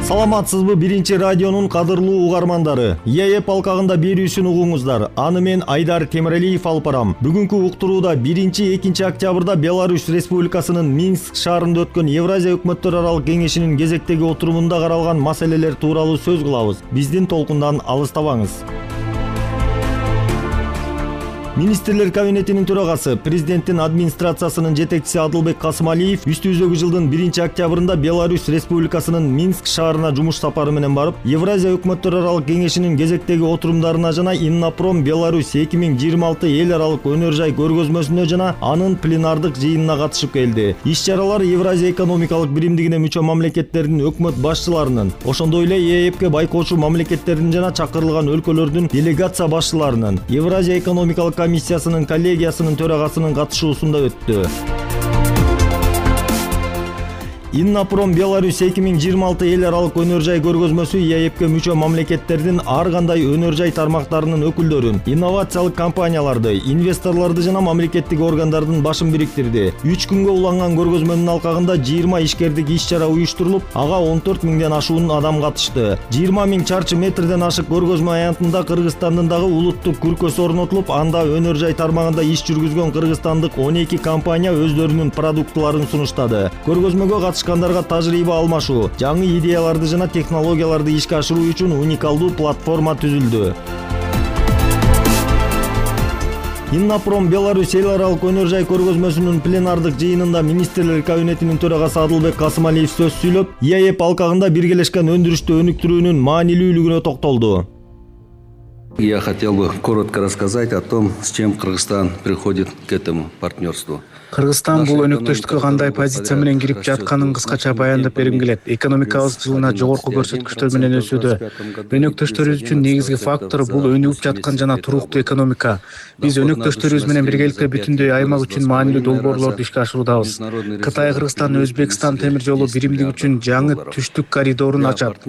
Саламатсызбы биринчи радионун кадырлуу угармандары. ЕЭП алкагында берүүсүн угуңуздар. Аны мен Айдар Темиралиев алып барам. Бүгүнкү уктурууда 1-2 октябрда Беларусь Республикасынын Минск шаарында өткөн Евразия өкмөттөр аралык кеңешинин кезектеги отурумунда каралган маселелер тууралуу сөз кылабыз. Биздин толкундан алыстабаңыз. Министрлер кабинетинин төрагасы, президенттин администрациясынын жетекчиси Адылбек Касымалиев үстүбүздөгү жылдын 1-октябрында Беларусь Республикасынын Минск шаарына жумуш сапары менен барып, Евразия өкмөттөр аралык кеңешинин кезектеги отурумдарына жана Иннопром Беларусь 2026 эл аралык өнөр жай көргөзмөсүнө жана анын пленардык жыйынына катышып келди. Иш-чаралар Евразия экономикалык биримдигине мүчө мамлекеттердин өкмөт башчыларынын, ошондой эле ЕЭПке байкоочу мамлекеттердин жана чакырылган өлкөлөрдүн делегация башчыларынын, Евразия экономикалык комиссиясынын коллегиясынын төрагасынын катышуусунда өттү. Иннопром Беларусь 2026 эл аралык өнөр жай көргөзмөсү ЕЭПке мүчө мамлекеттердин ар кандай өнөр жай тармактарынын өкүлдөрүн, инновациялык компанияларды, инвесторлорду жана мамлекеттик органдардын башын бириктирди. 3 күнгө уланган көргөзмөнүн алкагында 20 ишкердик иш-чара уюштурулуп, ага 14 миңден ашуун адам катышты. 20 миң чарчы метрден ашык көргөзмө аянтында Кыргызстандын дагы улуттук күркөсү орнотулуп, анда өнөр жай тармагында иш жүргүзгөн кыргызстандык 12 компания өздөрүнүн продуктларын сунуштады. Көргөзмөгө катышкандарга тажрыйба алмашуу, жаңы идеяларды жана технологияларды ишке ашыруу үчүн уникалдуу платформа түзүлдү. Иннопром Беларусь эл аралык өнөр жай көргөзмөсүнүн пленардык жыйынында министрлер кабинетинин төрагасы Адылбек Касымалиев сөз сүйлөп, ЕЭП алкагында биргелешкен өндүрүштү өнүктүрүүнүн маанилүүлүгүнө токтолду. Я хотел бы коротко рассказать о том, с чем Кыргызстан приходит к этому партнерству. Кыргызстан бул өнөктөштүккө кандай позиция менен кирип жатканын кыскача баяндап бергим келет. Экономикабыз жылына жогорку көрсөткүчтөр менен өсүүдө. Өнөктөштөрүбүз үчүн негизги фактор бул өнүгүп жаткан жана туруктуу экономика. Биз өнөктөштөрүбүз менен биргеликте бүтүндөй аймак үчүн маанилүү долбоорлорду ишке ашыруудабыз. Кытай, Кыргызстан, Өзбекстан темир жолу биримдиги үчүн жаңы түштүк коридорун ачат.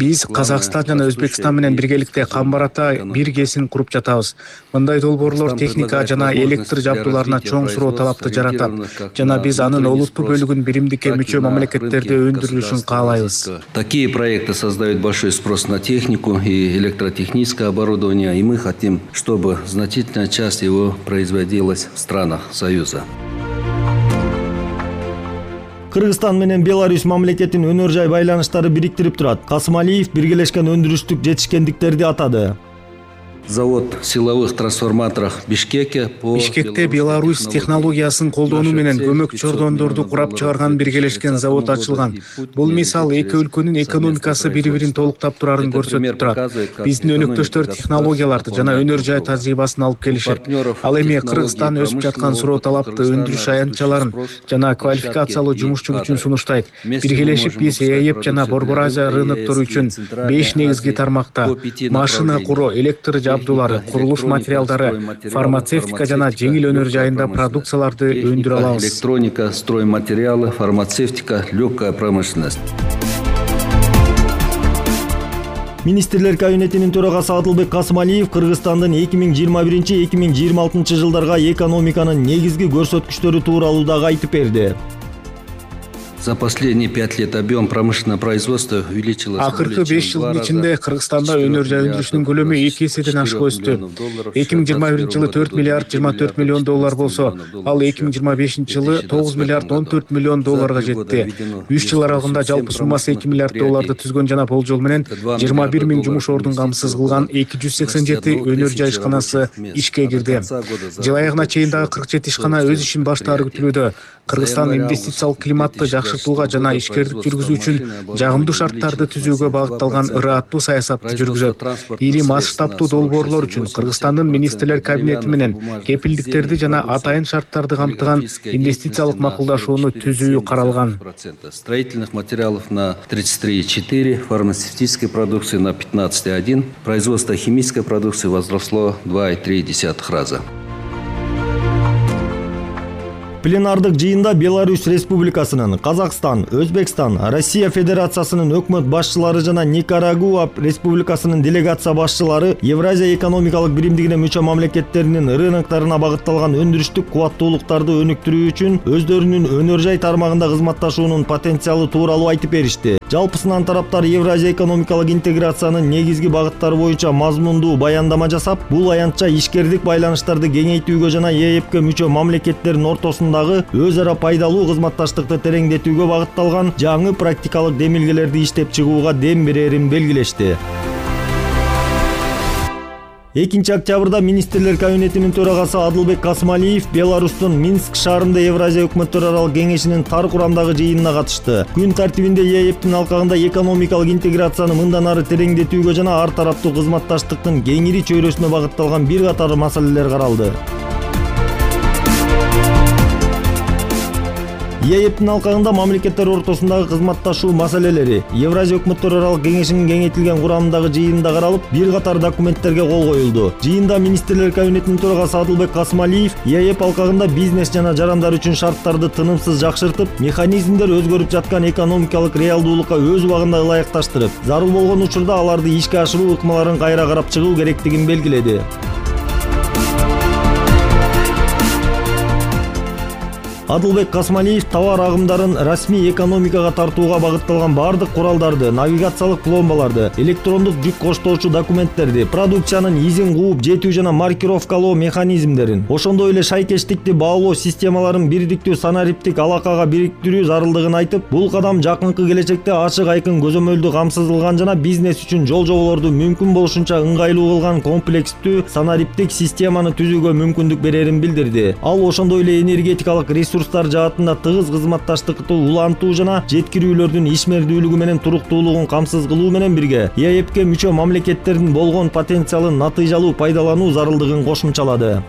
Биз Казакстан жана Өзбекстан менен биргеликте Камбарата бир кесин куруп жатабыз. Мындай долбоорлор техника жана электр жабдууларына чоң суроо талапты жаратат жана биз анын олуттуу бөлүгүн биримдикке мүчө мамлекеттерде өндүрүлүшүн каалайбыз. Такие проекты создают большой спрос на технику и электротехническое оборудование, и мы хотим, чтобы значительная часть его производилась в странах Союза. Кыргызстан менен Беларусь мамлекетин өнөр жай байланыштары бириктирип турат. Касымалиев биргелешкен өндүрүштүк жетишкендиктерди атады. Завод силовых трансформаторов Бишкекте Беларусь технологиясын колдонуу менен көмөк чордондорду курап чыгарган биргелешкен завод ачылган. Бул мисал эки өлкөнүн экономикасы бири-бирин толуктап турарын көрсөтүп турат. Биздин өнөктөштөр технологияларды жана өнөр жай тажрыйбасын алып келишет. Ал эми Кыргызстан өсүп жаткан суроо талапты өндүрүш аянтчаларын жана квалификациялуу жумушчу күчүн сунуштайт. Биргелешип биз ЕЭП жана Борбор Азия рыноктору үчүн 5 негизги тармакта машина куруу, электр жабдуулары, курулуш материалдары, фармацевтика жана жеңил өнөр жайында продукцияларды өндүрө алабыз. Электроника, стройматериалы, фармацевтика, легкая промышленность. Министрлер кабинетинин төрагасы Адылбек Касымалиев Кыргызстандын 2021-2026 жылдарга экономиканын негизги көрсөткүчтөрү тууралуу дагы айтып берди. За последние 5 лет объем промышленного производства увеличилось. Акыркы 5 жылдын ичинде Кыргызстанда өнөр жай өндүрүшүнүн көлөмү 2 эседен ашык өстү. 2021 жылы 4 миллиард 24 миллион доллар болсо, ал 2025 жылы 9 миллиард 14 миллион долларга жетти. 3 жыл аралыгында жалпы суммасы 2 миллиард долларды түзгөн жана болжол менен 21 миң жумуш ордун камсыз кылган 287 өнөр жай ишканасы ишке кирди. Жыл аягына чейин дагы 47 ишкана өз ишин баштаары күтүлүүдө. Кыргызстан инвестициялык климатты жакшыртууга жана ишкердик жүргүзүү үчүн жагымдуу шарттарды түзүүгө багытталган ырааттуу саясатты жүргүзөт. Ири масштабтуу долбоорлор үчүн Кыргызстандын министрлер кабинети менен кепилдиктерди жана атайын шарттарды камтыган инвестициялык макулдашууну түзүү каралган. Строительных материалов на 33,4, фармацевтической продукции на 15,1, производство химической продукции возросло 2,3 раза. Пленардык жыйында Беларусь Республикасынын, Казакстан, Өзбекстан, Россия Федерациясынын өкмөт башчылары жана Никарагуа Республикасынын делегация башчылары Евразия экономикалык биримдигине мүчө мамлекеттеринин рыноктарына багытталган өндүрүштүк кубаттуулуктарды өнүктүрүү үчүн өздөрүнүн өнөр жай тармагында кызматташуунун потенциалы тууралуу айтып беришти. Жалпысынан тараптар Евразия экономикалык интеграциянын негизги багыттары боюнча мазмундуу баяндама жасап, бул аянтча ишкердик байланыштарды кеңейтүүгө жана ЕЭПке мүчө мамлекеттердин ортосундагы өз ара пайдалуу кызматташтыкты тереңдетүүгө багытталган жаңы практикалык демилгелерди иштеп чыгууга дем берерин белгилешти. 2 октябрда Министрлер кабинетинин төрагасы Адылбек Касмалиев Беларустун Минск шаарында Евразия өкмөттөр аралык кеңешинин тар курамдагы жыйынына катышты. Күн тартибинде ЕЭПтин алкагында экономикалык интеграцияны мындан ары тереңдетүүгө жана ар тараптуу кызматташтыктын кеңири чөйрөсүнө багытталган бир катар маселелер каралды. ЕЭПтин алкагында мамлекеттер ортосундагы кызматташуу маселелери Евразия өкмөттөр аралык кеңешинин кеңейтилген курамындагы жыйынында каралып, бир катар документтерге кол коюлду. Жыйында Министрлер кабинетинин төрагасы Адылбек Касмалиев ЕЭП алкагында бизнес жана жарандар үчүн шарттарды тынымсыз жакшыртып, механизмдер өзгөрүп жаткан экономикалык реалдуулукка өз убагында ылайыкташтырып, зарыл болгон учурда аларды ишке ашыруу ыкмаларын кайра карап чыгуу керектигин белгиледи. Адылбек Касмалиев товар агымдарын расмий экономикага тартууга багытталган бардык куралдарды, навигациялык пломбаларды, электрондук жүк коштоочу документтерди, продукциянын изин кууп жетүү жана маркировкалоо механизмдерин, ошондой эле шайкештикти баалоо системаларын бирдиктүү санариптик алакага бириктирүү зарылдыгын айтып, бул кадам жакынкы келечекте ачык айкын көзөмөлдү камсыздалган жана бизнес үчүн жол жоболорду мүмкүн болушунча ыңгайлуу кылган комплекстүү санариптик системаны түзүүгө мүмкүндүк берерин билдирди. Ал ошондой эле энергетикалык ресурстар жаатында тыгыз кызматташтыкты улантуу жана жеткирүүлөрдүн ишмердүүлүгү менен туруктуулугун камсыз кылуу менен бирге ЕЭПке мүчө мамлекеттердин болгон потенциалын натыйжалуу пайдалануу зарылдыгын кошумчалады.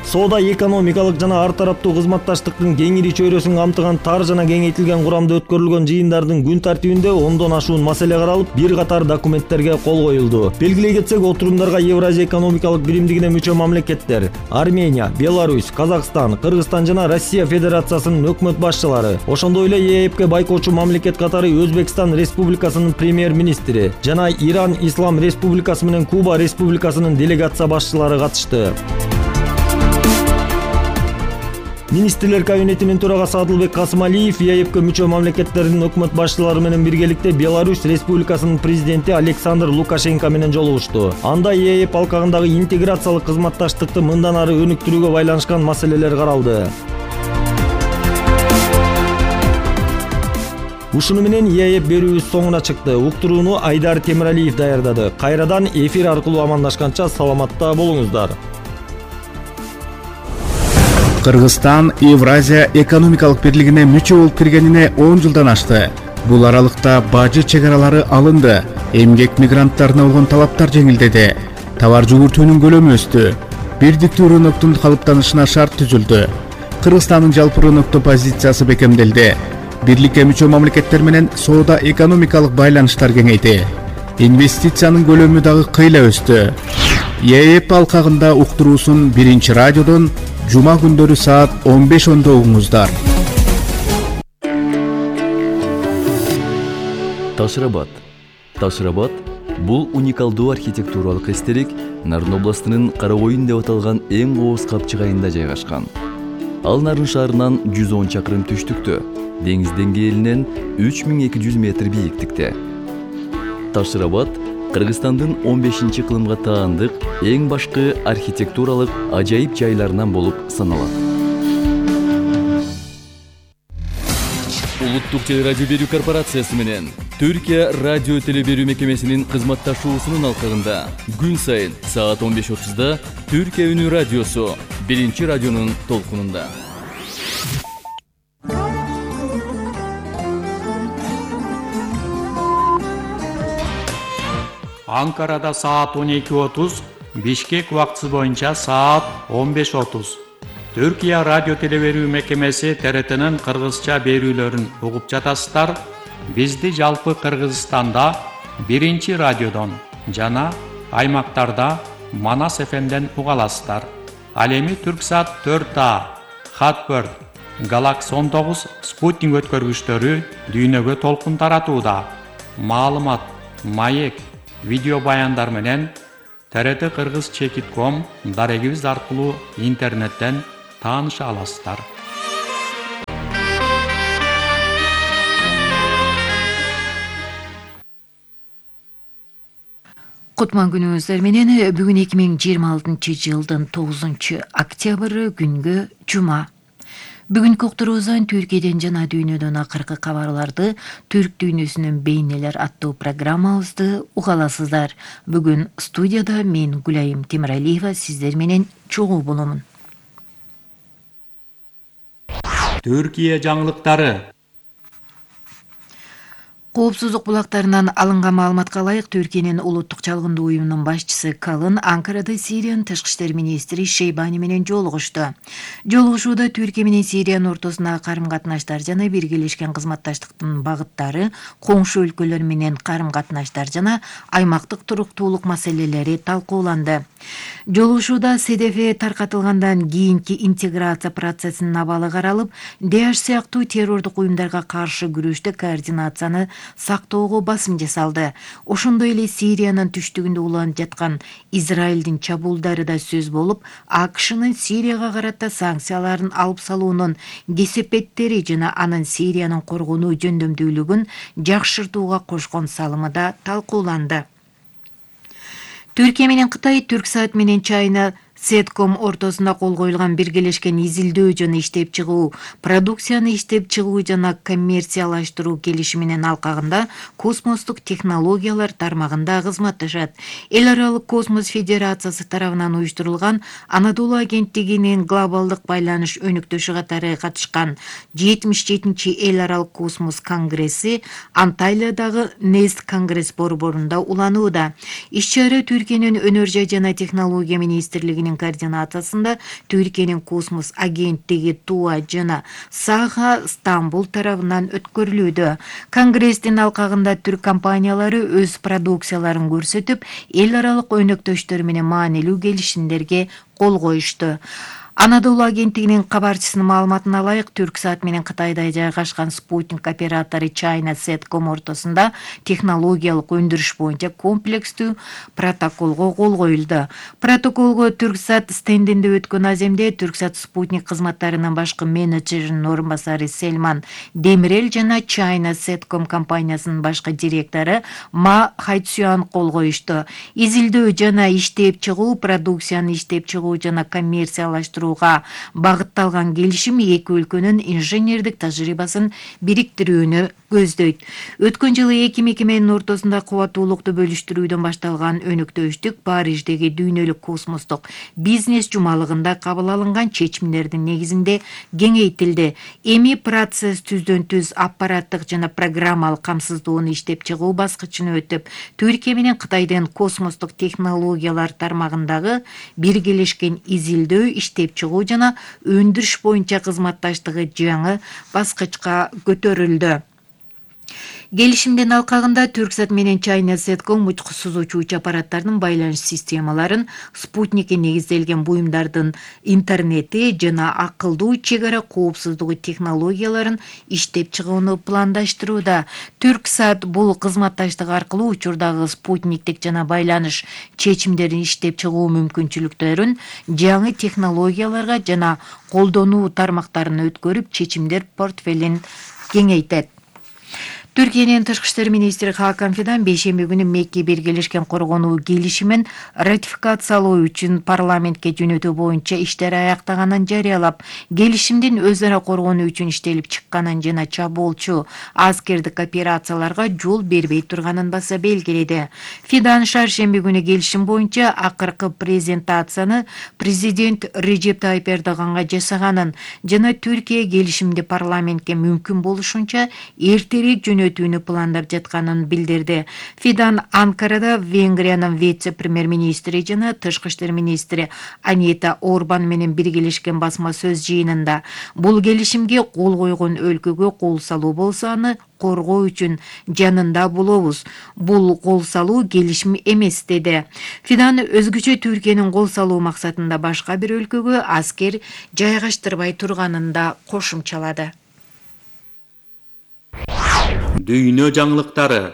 Соода экономикалык жана ар тараптуу кызматташтыктын кеңири чөйрөсүн камтыган тар жана кеңейтилген курамда өткөрүлгөн жыйындардын күн тартибинде 10дон ашуун маселе каралып, бир катар документтерге кол коюлду. Белгилей кетсек, отурумдарга Евразия экономикалык биримдигине мүчө мамлекеттер Армения, Беларусь, Казакстан, Кыргызстан жана Россия Федерациясынын өкмөт башчылары, ошондой эле ЕЭПке байкоочу мамлекет катары Өзбекстан Республикасынын премьер-министри жана Иран Ислам Республикасы менен Куба Республикасынын делегация башчылары катышты. Министрлер кабинетинин төрагасы Адылбек Касмалиев ЕЭПке мүчө мамлекеттердин өкмөт башчылары менен биргеликте Беларусь Республикасынын президенти Александр Лукашенко менен жолугушту. Анда ЕЭП алкагындагы интеграциялык кызматташтыкты мындан ары өнүктүрүүгө байланышкан маселелер каралды. Ушуну менен ЕЭП берүүбүз соңуна чыкты. Уктурууну Айдар Темиралиев даярдады. Кайрадан эфир аркылуу амандашканча саламатта болуңуздар. Кыргызстан Евразия экономикалык бирлигине мүчө болуп киргенине 10 жылдан ашты. Бул аралыкта бажы чегаралары алынды, эмгек мигранттарына болгон талаптар жеңилдеди, товар жүгүртүүнүн көлөмү өстү, бирдиктүү рыноктун калыптанышына шарт түзүлдү. Кыргызстандын жалпы рыноктоо позициясы бекемделди. Бирликке мүчө мамлекеттер менен соода экономикалык байланыштар кеңейди. Инвестициянын көлөмү дагы кыйла өстү. ЕЭП алкагында уктуруусун 1 радиодон жума күндөрү саат 15:10 угуңуздар. Ташрабад. Ташрабад бул уникалдуу архитектуралык эстелик Нарын областынын Карагойын деп аталган эң кооз капчык айында жайгашкан. Ал Нарын шаарынан 110 чакырым түштүктө, деңиз деңгээлинен 3200 метр бийиктикте. Ташрабад Кыргызстандын 15-чи кылымга таандык эң башкы архитектуралык ажайып жайларынан болуп саналат. Улуттук телерадио берүү корпорациясы менен Түркия радио телеберүү мекемесинин кызматташуусунун алкагында күн сайын саат 15:30 Түркия үнү радиосу 1 радионун толкунунда. Анкарада саат 12:30, Бишкек убактысы боюнча саат 15:30. Түркия радио телеберүү мекемеси ТРТнын кыргызча берүүлөрүн угуп жатасыздар. Бизди жалпы Кыргызстанда 1 радиодон жана аймактарда Манас ФМ'ден уга аласыздар. Ал эми Түрксат 4A, Хатберд, Galaxy 19 спутник өткөргүчтөрү дүйнөгө толкун таратууда. Маалымат, маек, видео баяндар менен TRT Кыргыз Чекит.com дарегибиз аркылуу интернеттен тааныша аласыздар. Кутман күнүңүздөр менен бүгүн 2026 жылдын 9 октябры күнгө жума. Бүгүнкү уктуруубуздан Түркияден жана дүйнөдөн акыркы кабарларды Түрк дүйнөсүнүн бейнелер аттуу программабызды уга аласыздар. Бүгүн студияда мен Гүлайым Темиралиева сиздер менен чогуу боломун. Түркия жаңылыктары. Коопсуздук булактарынан алынган маалыматка ылайык Түркиянын улуттук чалгындуу уюмунун башчысы Калын Анкарада Сириянын тышкы иштер министри Шейбани менен жолугушту. Жолугушууда Түркия менен Сириянын ортосундагы карым-катнаштар жана биргелешкен кызматташтыктын багыттары, коңшу өлкөлөр менен карым-катнаштар жана аймактык туруктуулук маселелери талкууланды. Жолугушууда СДФ таркатылгандан кийинки интеграция процессинин абалы каралып, ДАЭШ сыяктуу террордук уюмдарга каршы күрөштө координацияны сактоого басым жасалды. Ошондой эле Сириянын түштүгүндө уланып жаткан Израилдин чабуулдары да сөз болуп, АКШнын Сирияга карата санкцияларын алып салуунун кесепеттери жана анын Сириянын коргонуу жөндөмдүүлүгүн жакшыртууга кошкон салымы да талкууланды. Түркия менен Кытай Түрксат менен Чайна Сетком ортосунда кол коюлган биргелешкен изилдөө жана иштеп чыгуу, продукцияны иштеп чыгуу жана коммерциялаштыруу келишиминин алкагында космостук технологиялар тармагында кызматташат. Эл аралык космос федерациясы тарабынан уюштурулган Анадолу агенттигинин глобалдык байланыш өнүктөшү катары катышкан 77-чи эл аралык космос конгресси Анталиядагы Нест конгресс борборунда уланууда. Иш-чара Түркиянын өнөр жай жана технология министрлигинин координациясында Түркиянын космос агенттиги ТУА жана САХА Стамбул тарабынан өткөрүлүүдө. Конгресстин алкагында түрк компаниялары өз продукцияларын көрсөтүп, эл аралык өнөктөштөр менен маанилүү келишимдерге кол коюшту. Анадолу агенттигинин кабарчысынын маалыматына ылайык, Түрксат менен Кытайда жайгашкан спутник оператору Чайна Сетком ортосунда технологиялык өндүрүш боюнча комплекстүү протоколго кол коюлду. Протоколго Түрксат стендинде өткөн аземде Түрксат спутник кызматтарынын башкы менеджеринин орун басары Сельман Демирел жана Чайна Сетком компаниясынын башкы директору Ма Хайцюан кол коюшту. Изилдөө жана иштеп чыгуу, продукцияны иштеп чыгуу жана коммерциялаштыруу багытталган келишим эки өлкөнүн инженердик тажрыйбасын бириктирүүнү көздөйт. Өткөн жылы эки мекеменин ортосунда кубаттуулукту бөлүштүрүүдөн башталган өнөктөштүк Париждеги дүйнөлүк космостук бизнес жумалыгында кабыл алынган чечимдердин негизинде кеңейтилди. Эми процесс түздөн түз аппараттык жана программалык камсыздоону иштеп чыгуу баскычына өтүп, Түркия менен Кытайдын космостук технологиялар тармагындагы биргелешкен изилдөө, иштеп чыгуу жана өндүрүш боюнча кызматташтыгы жаңы баскычка көтөрүлдү. Келишимдин алкагында Түрксат менен Чайна Сетком учкусуз учуучу аппараттардын байланыш системаларын, спутникке негизделген буюмдардын интернети жана акылдуу чек ара коопсуздугу технологияларын иштеп чыгууну пландаштырууда. Түрксат бул кызматташтык аркылуу учурдагы спутниктик жана байланыш чечимдерин иштеп чыгуу мүмкүнчүлүктөрүн жаңы технологияларга жана колдонуу тармактарына өткөрүп, чечимдер портфелин кеңейтет. Түркиянын тышкы иштер министри Хакан Фидан бейшемби күнү Мекке биргелешкен коргонуу келишимин ратификациялоо үчүн парламентке жөнөтүү боюнча иштер аяктаганын жарыялап, келишимдин өз ара коргонуу үчүн иштелип чыкканын жана чабуулчу аскердик операцияларга жол бербей турганын баса белгиледи. Фидан шаршемби күнү келишим боюнча акыркы презентацияны президент Режеп Тайып Эрдоганга жасаганын жана Түркия келишимди парламентке мүмкүн болушунча эртерээк жөнөтүү жөнөтүүнү пландап жатканын билдирди. Fidan Анкарада Венгриянын вице-премьер-министри жана тышкы иштер министри Анита Орбан менен биргелешкен басма сөз жыйынында бул келишимге кол койгон өлкөгө кол салуу болсо аны коргоо үчүн жанында болобуз. Бул кол салуу келишим эмес деди. Fidan өзгөчө Түркиянын кол салуу максатында башка бир өлкөгө аскер жайгаштырбай турганын да кошумчалады. Дүйнө жаңылыктары.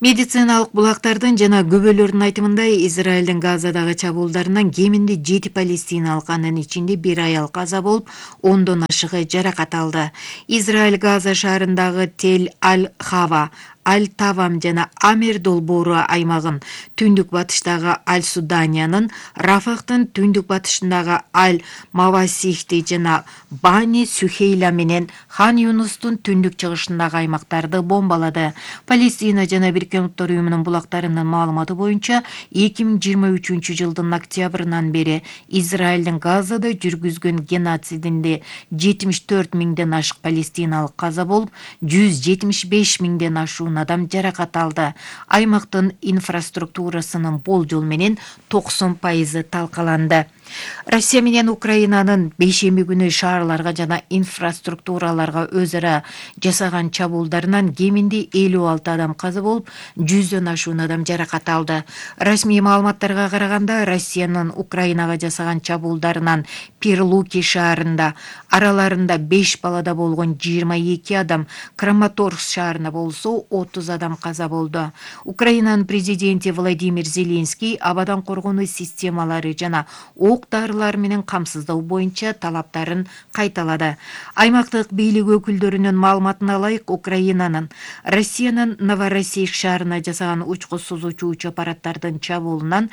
Медициналык булактардын жана күбөлөрдүн айтымында Израилдин Газадагы чабуулдарынан кеминде 7 палестиналык, анын ичинде 1 аял каза болуп, 10дон ашыгы жаракат алды. Израиль Газа шаарындагы Тель-Аль-Хава, Аль-Тавам жана Амер долбоору аймагын, түндүк батыштагы Аль-Суданиянын, Рафахтын түндүк батышындагы Аль-Мавасихти жана Бани Сухейла менен Хан Юнустун түндүк чыгышындагы аймактарды бомбалады. Палестина жана Бириккен Уттар уюмунун булактарынын маалыматы боюнча 2023 жылдын октябрынан бери Израилдин Газада жүргүзгөн геноцидинде 74 миңден ашык палестиналык каза болуп, 175 миңден ашуун адам жаракат алды. Аймактын инфраструктурасынын болжол менен 90% талкаланды. Россия менен Украинанын бейшемби күнү шаарларга жана инфраструктураларга өз ара жасаган чабуулдарынан кеминде 56 адам каза болуп, 100дөн ашуун адам жаракат алды. Расмий маалыматтарга караганда, Россиянын Украинага жасаган чабуулдарынан Перлуки шаарында, араларында 5 балада болгон 22 адам, Краматорск шаарында болсо 30 адам каза болду. Украинанын президенти Владимир Зеленский абадан коргонуу системалары жана ок-дарылар менен камсыздоо боюнча талаптарын кайталады. Аймактык бийлик өкүлдөрүнүн маалыматына ылайык, Украинанын Россиянын Новороссийск шаарына жасаган учку сузуучу уч аппараттардын чабуулунан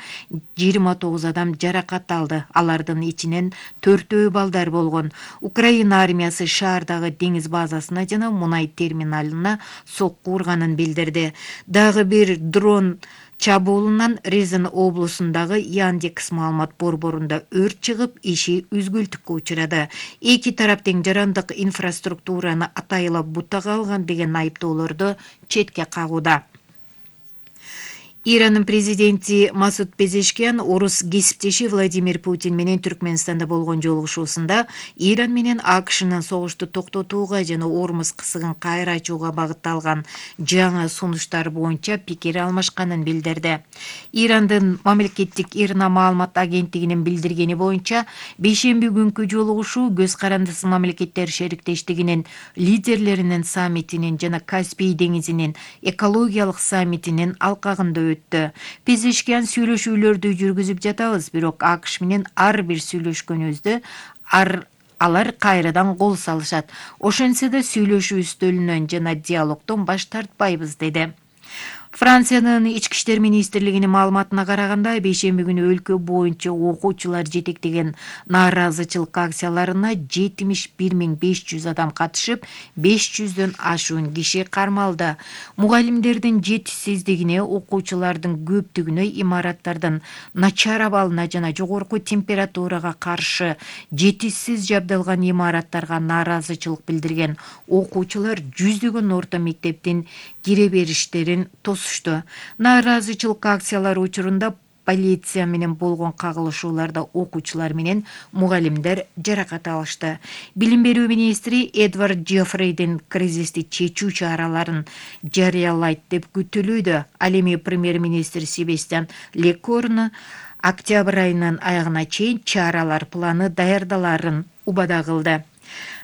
29 адам жаракат алды. Алардын ичинен 4 балдар болгон. Украина армиясы шаардагы деңиз базасына жана мунай терминалына сокку урганын билдирди. Дагы бир дрон чабуулунан Резин облусундагы Яндекс маалымат борборунда өрт чыгып, иши үзгүлтүккө учурады. Эки тарап тең жарандык инфраструктураны атайылап бутага алган деген айыптоолорду четке кагууда. Иранын президенти Масуд Пезешкиан орус кесиптеши Владимир Путин менен Түркмөнстанда болгон жолугушуусунда Иран менен АКШнын согушту токтотууга жана Ормуз кысыгын кайра ачууга багытталган жаңы сунуштар боюнча пикир алмашканын билдирди. Ирандын мамлекеттик ИРНА маалымат агенттигинин билдиргени боюнча, бейшемби күнкү жолугушуу көз карандысы мамлекеттер шериктештигинин лидерлеринин саммитинин жана Каспий деңизинин экологиялык саммитинин алкагында өттү. Пезешкиан сүйлөшүүлөрдү жүргүзүп жатабыз, бирок АКШ менен ар бир сүйлөшкөнүбүздө алар кайрадан кол салышат. Ошентсе да сүйлөшүү үстөлүнөн жана диалогдон баш тартпайбыз, деди. Франциянын ички иштер министрлигинин маалыматына караганда, бейшемби күнү өлкө боюнча окуучулар жетектеген нааразычылык акцияларына 71.500 адам катышып, 500дөн ашуун киши кармалды. Мугалимдердин жетишсиздигине, окуучулардын көптүгүнө, имараттардын начар абалына жана жогорку температурага каршы жетишсиз жабдылган имараттарга нааразычылык билдирген окуучулар жүздөгөн орто мектептин кире бериштерин тосушту. Нааразычылык акциялары учурунда полиция менен болгон кагылышууларда окуучулар менен мугалимдер жаракат алышты. Билим берүү министри Эдвард Джеффрейдин кризисти чечүү чараларын жарыялайт деп күтүлүүдө. Ал эми премьер-министр Себастьян Лекорну октябрь айынын аягына чейин чаралар планы даярдаларын убада кылды.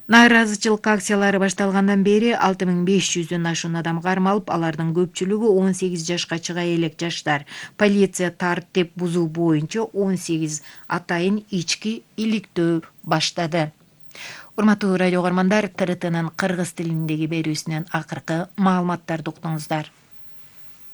Нааразычылык акциялары башталгандан бери 6500дөн ашуун адам кармалып, алардын көпчүлүгү 18 жашка чыга элек жаштар. Полиция тартип бузуу боюнча 18 атайын ички иликтөө баштады. Урматтуу радио угармандар, ТРТнын кыргыз тилиндеги берүүсүнөн акыркы маалыматтарды уктуңуздар.